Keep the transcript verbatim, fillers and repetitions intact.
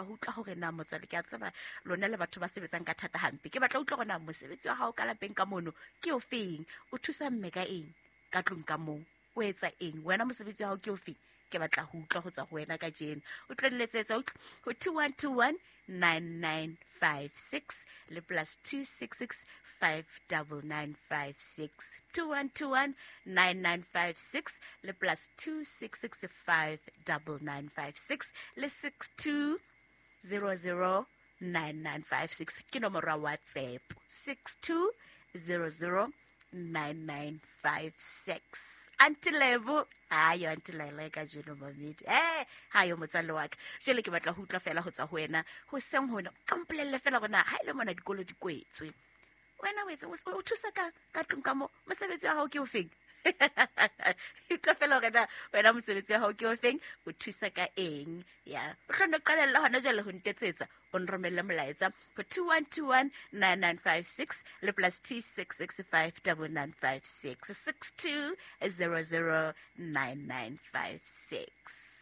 batla ho utlwa hore na motswadi, ke a tseba lona le batho ba sebetsang ka thata hampe. Ke batla ho utlwa hore na mosebetsi wa hao ka lapeng ka mono ke o feng, o thusa mme ka eng ka tlung ka moo, o etsa eng wena, mosebetsi wa hao ke o feng. Ke batla ho utlwa ho tswa ho wena kajeno. O tlo nletsetsa ho two one two one nine nine five six le plus two six six five double nine five six. two one two one nine nine five six le plus two six six five double nine five six le six two zero zero nine nine five six. Ke nomoro ya WhatsApp six two zero zero nine nine five six. Auntie Lebo, ayo Auntie Lele ka jeno mamedi. Eh, hayo motswalle wa ka. Jwale ke batla ho utlwa fela ho tswa ho wena. Ho seng hona, ka mpolelle fela hore na ha ile mona dikolo di kwetswe. Wena o etse o thusa ka ka tlung ka mo, mosebetsi wa hao ke o feng? Utlwa fela hore na wena mosebetsi wa hao ke o feng, o thusa ka eng? Ya, o tlo nno qalella hona jwale ho ntetsetsa, o nromelle molaetsa ho two one two one nine nine five six le plus two six six five double nine five six six two zero zero nine nine five six.